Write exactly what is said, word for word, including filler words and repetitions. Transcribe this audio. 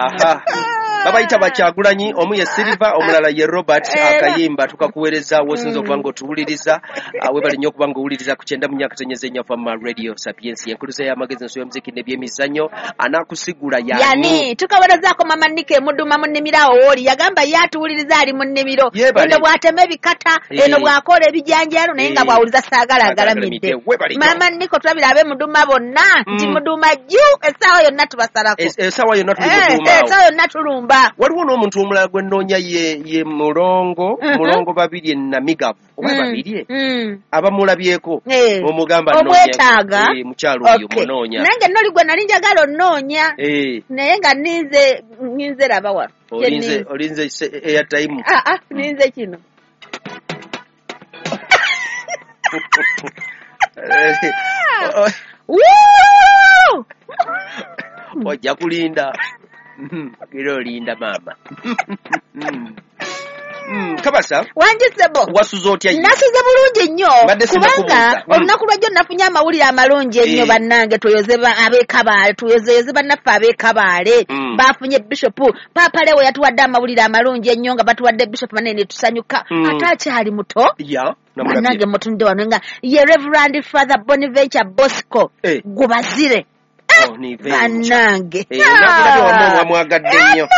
Aha, babayita Bakyagulanyi, omu ye Silver, omulala ye Robert. Akayimba tukakuweereza wosinza okuba nga otuwuliriza. Ah, webale nnyo okuba nga owuliriza ku kyenda mu nyakatonnyeza ennya Fama Radio Sapiensi, enkuluza y'amagezi, enso y'omuziki n'ebyemizannyo. Anaakusigula yani? Yani tukawerezaako mama Nika emuduma mu nnimiro awo wooli, yagamba ye atuwuliriza ali mu nnimiro. Yeebale. Eno bw'atema ebikata, Eh. eno bw'akola ebijanjaalo, naye nga Eh. bw'awuliza Saagala Agalamidde. Webale nnyo. Mama Niko, tulabira ab'emuduma bonna nti Mm. muduma jju, essaawa yonna tubasalako. Es- essaawa yonna tuli Eh, muduuma eh, awo. Essaawa yonna tulumba. Waliwo n'omuntu omulala gwe nnoonya, ye ye Mulongo. Mhm. Mulongo Babirye Namigavu oba Mm, Babirye, mm. abamulabyeko Eh. omugamba. Omwetaaga. Nnoonya, eh, mukyalo oyo. Okay. Munoonya. Nange noli gwe nali njagala onnoonya, Eh, naye nga ninze ninze laba wano. Kye olinze ninze. Olinze se- airtime. Ah, ah, ninze kino. Eh, o- Woo! Ojja kulinda. Mhm, era olinda maama. Mm. Mm, kabasa Wangisebo. Wasuze otya ye? Nasuze bulungi nnyo, Mbadde kubanga sinnakubuuza. Mm. olunaku lwajjo nafunye amawulire amalungi ennyo. Eh. Bannange, tuyoze ba- ab'ekabaale, tuyozeyoze bannaffe ab'ekabaale. Mm. Bafunye bishopu. Paapa Lewo yatuwadde amawulire amalungi ennyo nga batuwadde bishopu banene ne tusanyuka. Mm. Ate akyali muto. Ya. Bannange, Namulabye. mutunde wano nga ye Reverend Father Bonaventure Bosco Eh. Gubazire. Oh, ni venture. Bannange. Eh, nakulabye wamma, wamwagadde nnyo.